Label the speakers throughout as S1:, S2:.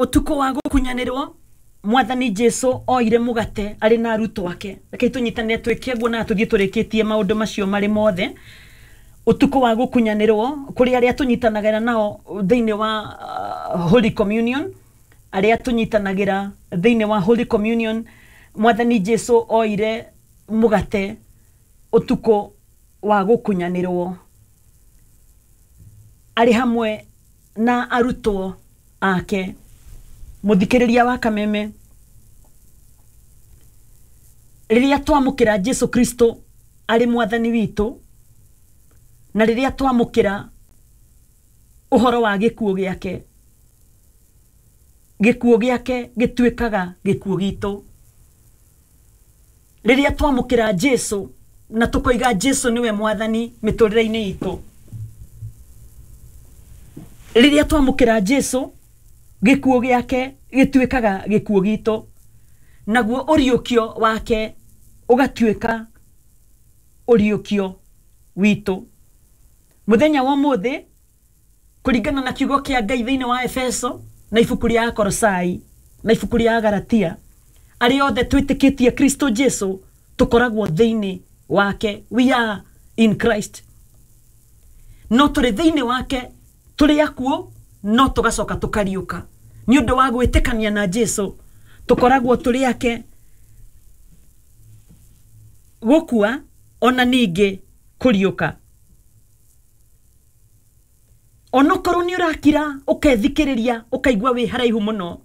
S1: Ũtukũ wa gũkunyanĩrwo, Mwathani Jesu oire mũgate arĩ na arutwo ake. Rekei tũnyitanĩre twĩke ũguo na tũthiĩ tũrĩkĩtie maũndũ macio marĩ mothe. Ũtukũ wa gũkunyanĩrwo, kũrĩ arĩa tũnyitanagĩra nao thĩinĩ wa Holy Communion, arĩa tũnyitanagĩra thĩinĩ wa Holy Communion, Mwathani Jesu oire mũgate ũtukũ wa gũkunyanĩrwo arĩ hamwe na arutwo ake. Mũthikĩrĩria wa Kameme, rĩrĩa twamũkĩra Jesu Kristo arĩ mwathani witũ, na rĩrĩa twamũkĩra ũhoro wa gĩkuũ gĩake, gĩkuũ gĩake gĩtuĩkaga gĩkuũ gitũ. Rĩrĩa twamũkĩra Jesu na tũkoiga Jesu nĩwe mwathani mĩtũrĩre-inĩ itũ, rĩrĩa twamũkĩra Jesu, gĩkuũ gĩake gĩtuĩkaga gĩkuũ gitũ, naguo ũriũkio wake ũgatuĩka ũriũkio witũ. Mũthenya wa ũmũthĩ, kũringana na kiugo kĩa Ngai thĩinĩ wa Efeso na ibuku rĩa Akolosai na ibuku rĩa Galatia, arĩa othe twĩtĩkĩtie Kristo Jesu tũkoragwo thĩinĩ wake. We are in Christ. No tũrĩ thĩinĩ wake, tũrĩ akuũ, no tũgacoka tũkariũka. Nĩ ũndũ wa gwĩtĩkania na Jesu, tũkoragwo tũrĩ ake gũkua ona ningĩ kũriũka. Onokorwo nĩ ũrakira ũkethikĩrĩria ũkaigua wĩ haraihu mũno,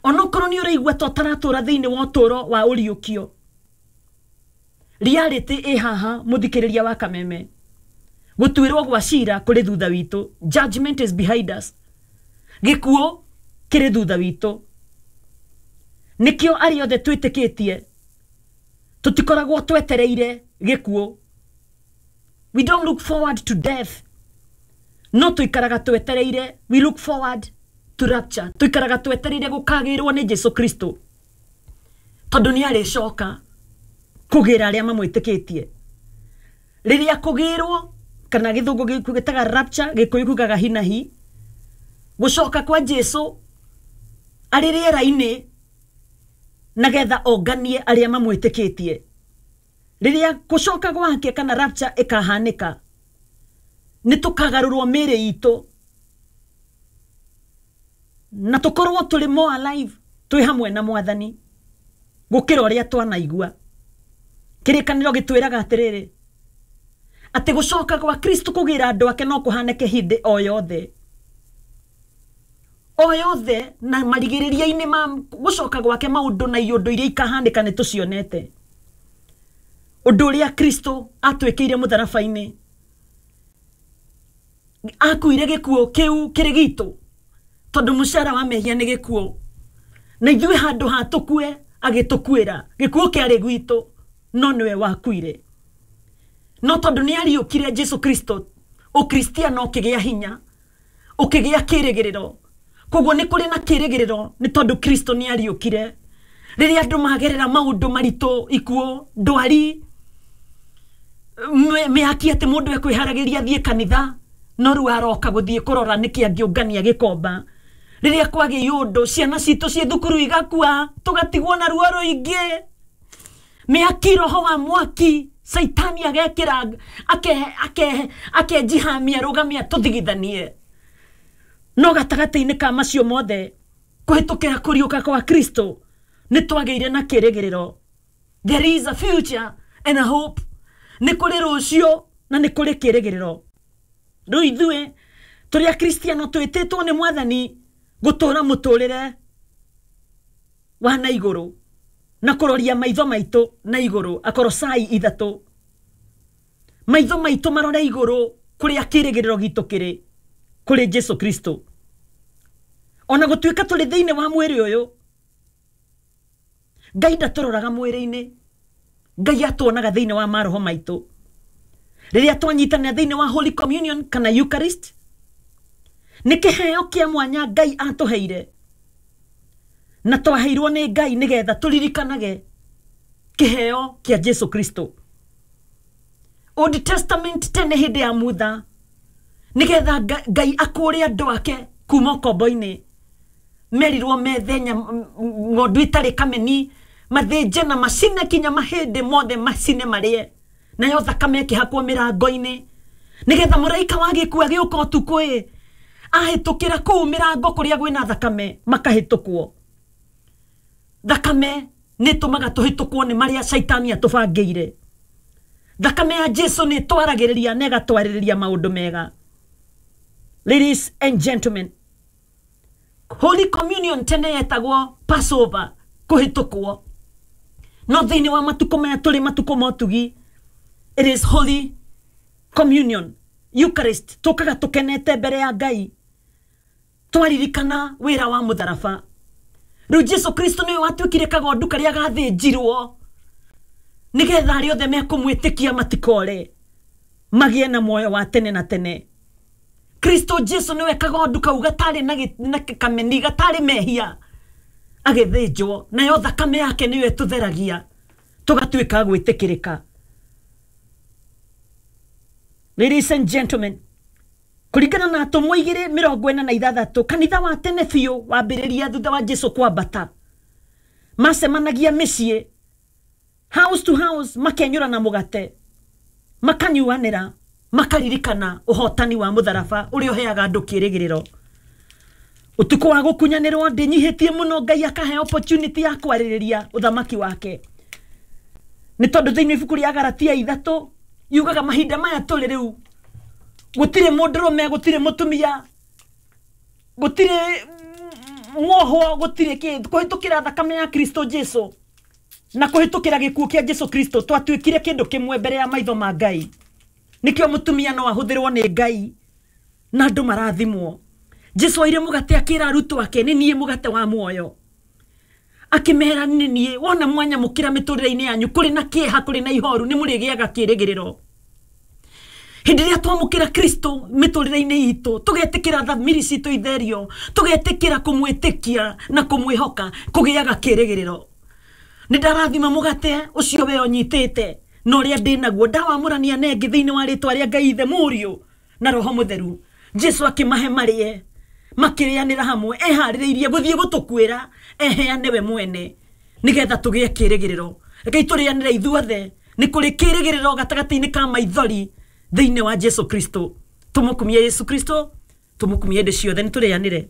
S1: onokorwo nĩ ũraigua ta ũtaratũra thĩinĩ wa ũtũũro wa ũriũkio, reality ĩ haha mũthikĩrĩria wa Kameme. Gũtuĩrwo gwa cira kũrĩ thutha witũ, judgment is behind us. Gĩkuũ kĩrĩ thutha witũ. Nĩkĩo arĩa othe twĩtĩkĩtie tũtikoragwo twetereire gĩkuũ. We don't look forward to death. No tũikaraga twetereire, we look forward to rapture. Tũikaraga twetereire gũkagĩrwo nĩ Jesu Kristo, tondũ nĩ arĩcoka kũgĩra arĩa mamwĩtĩkĩtie. Rĩrĩa kũgĩrwo, kana gĩthũngũ gĩtaga rapture, gĩkũyũ kugaga hinahi, gũcoka kwa Jesu arĩ rĩera-inĩ nagetha onganie arĩa mamwĩtĩkĩtie. Rĩrĩa gũcoka gwake kana rapture ĩkahanĩka, nĩ tũkagarũrwo mĩĩrĩ itũ na tũkorwo tũrĩ more alive twĩ hamwe na mwathani gũkĩra ũrĩa twanaigua. Kĩrĩkanĩro gĩtwĩraga atĩrĩrĩ, atĩ gũcoka gwa Kristo kũgĩra andũ ake no kũhanĩke hĩndĩ o yothe o yothe, na marigĩrĩria-inĩ ma gũcoka gwake maũndũ na iũndũ iria ikahanĩka nĩ tũcionete. Ũndũ ũrĩa Kristo atwĩkĩire mũtharaba-inĩ, akuire gĩkuũ kĩu kĩrĩ gitũ, tondũ mũcara wa mehia nĩ gĩkuũ, na ithuĩ handũ ha tũkue agĩtũkuĩra. Gĩkuũ kĩarĩ gwitũ, no nĩwe wakuire. No tondũ nĩ ariũkire Jesu Kristo, ũkristiano ũkĩgĩa hinya, ũkĩgĩa kĩrĩgĩrĩro. Koguo nĩ kũrĩ na kĩrĩgĩrĩro nĩ tondũ Kristo nĩ ariũkire. Rĩrĩa andũ magerera maũndũ maritũ, ikuũ, ndwari, mĩaki atĩ mũndũ ekwĩharagĩria athiĩ kanitha, no rĩu aroka gũthiĩ kũrora nĩkĩ angĩũngania gĩkomba. Rĩrĩa kwagĩa ũndũ, ciana citũ ciĩ thukuru igakua, tũgatigwo na ruo rũingĩ. Mĩaki, roho wa mwaki, Saitani agekĩra, akenjihamia rũgamia tũthigithanie. No gatagatĩ-inĩ ka macio mothe, kũhĩtũkĩra kũriũka kwa Kristo, nĩ twagĩire na kĩrĩgĩrĩro. There is a future and a hope. Nĩ kũrĩ rũciũ na nĩ kũrĩ kĩrĩgĩrĩro. Rĩu ithuĩ tũrĩ akristiano twĩtĩtwo nĩ mwathani gũtũra mũtũrĩre wa na igũrũ na kũroria maitho maitũ na igũrũ. Akorosai 3, maitho maitũ marore igũrũ kũrĩa kĩrĩgĩrĩro gitũ kĩrĩ, kũrĩ Jesu Kristo. Ona gũtuĩka tũrĩ thĩinĩ wa mwĩrĩ ũyũ, Ngai ndatũroraga mwĩrĩ-inĩ, Ngai atuonaga thĩinĩ wa maroho maitũ. Rĩrĩa twanyitanĩra thĩinĩ wa Holy Communion kana Eucharist, nĩ kĩheo kĩa mwanya Ngai atũheire, na twaheirwo nĩ Ngai nĩgetha tũririkanage kĩheo kĩa Jesu Kristo. Old Testament tene hĩndĩ ya Mutha, nĩgetha Ngai akũũre andũ ake kuma ũkombo-inĩ. Merirwo methe ng'ondu itarĩ kameni, mathĩnje na macine kinya mahĩndĩ mothe macine marĩe, nayo thakame ĩkĩhakwo mĩrango-inĩ nĩgetha mũraika wa gĩkuũ agĩũka ũtukũ ĩ ahĩtũkĩra kũu mĩrango kũrĩa kwĩna thakame makahĩtũkwo. Thakame nĩ ĩtũmaga tũhĩtũkwo nĩ marĩa caitani atũbangĩire. Thakame ya Jesu nĩ ĩtwaragĩrĩria na ĩgatwarĩrĩria maũndũ mega. Ladies and gentlemen, Holy Communion tene yetagwo Passover, kũhĩtũkwo, no thĩinĩ wa matukũ maya tũrĩ matukũ ma ũtugi, it is Holy Communion, Eucharist. Tũkaga tũkenete mbere ya Ngai twaririkana wĩra wa mũtharaba. Rĩu Jesu Kristo nĩwe watuĩkire kagondu karĩa gathĩnjirwo nĩgetha arĩa othe mekũmwĩtĩkia matikore, magĩe na muoyo wa tene na tene. Kristo Jesu nĩwe kagondu kau gatarĩ na kameni, gatarĩ mehia, agĩthĩnjwo, nayo thakame yake nĩyo ĩtũtheragia tũgatuĩka gwĩtĩkĩrĩka. Ladies and gentlemen, kũringana na atũmwo 2:46, kanitha wa tene biũ wambĩrĩria thutha wa Jesu kwambata, macemanagia mĩciĩ, house to house, makenyũra na mũgate, makanyuanĩra, makaririkana ũhotani wa mũtharaba ũrĩa ũheaga andũ kĩĩrĩgĩrĩro. Ũtukũ wa gũkunyanĩrwo ndĩnyihĩtie mũno, Ngai akahe opportunity ya kwarĩrĩria ũthamaki wake, nĩ tondũ thĩinĩ ibuku rĩa Galatia 3 yugaga mahinda maya tũrĩ rĩu gũtirĩ mũndũrũme, gũtirĩ mũtumia, gũtirĩ mwohwo, gũtirĩ kĩ, kũhĩtũkĩra thakame ya Kristo Jesu na kũhĩtũkĩra gĩkuũ kĩa Jesu Kristo twatuĩkire kĩndũ kĩmwe mbere ya maitho ma Ngai. Nĩkĩo mũtumia no ahũthĩrwo nĩ Ngai na andũ marathimwo. Jesu oire mũgate akĩra arutwo ake, nĩ niĩ mũgate wa muoyo. Akĩmera nĩ niĩ, wona mwanyamũkĩra mĩtũrĩre-inĩ yanyu kũrĩ na kĩeha, kũrĩ na ihoru, nĩ mũrĩgĩaga kĩĩrĩgĩrĩro. Hĩndĩ ĩrĩa twamũkĩra Kristo mĩtũrĩre-inĩ itũ, tũgetĩkĩra thamiri citũ itherio, tũgetĩkĩra kũmwĩtĩkia na kũmwĩhoka, kũgĩaga kĩĩrĩgĩrĩro. Nĩ ndarathima mũgate ũcio we ũnyitĩte na ũrĩa ndĩ naguo, ndawamũrania na ĩngĩ thĩinĩ wa rĩtwa rĩa Ngai Ithe, Mũriũ na Roho Mũtheru. Jesu akĩmahe marĩe, makĩrĩanĩra hamwe, eharĩrĩirie gũthiĩ gũtũkuĩra, eheane we mwene nĩgetha tũgĩe kĩĩrĩgĩrĩro. Rekei tũrĩanĩre ithuothe, nĩ kũrĩ kĩĩrĩgĩrĩro gatagatĩ-inĩ ka maithori thĩinĩ wa Jesu Kristo. Tũmũkumie Yesu Kristo, tũmũkumie hĩndĩ ciothe, nĩ tũrĩanĩre.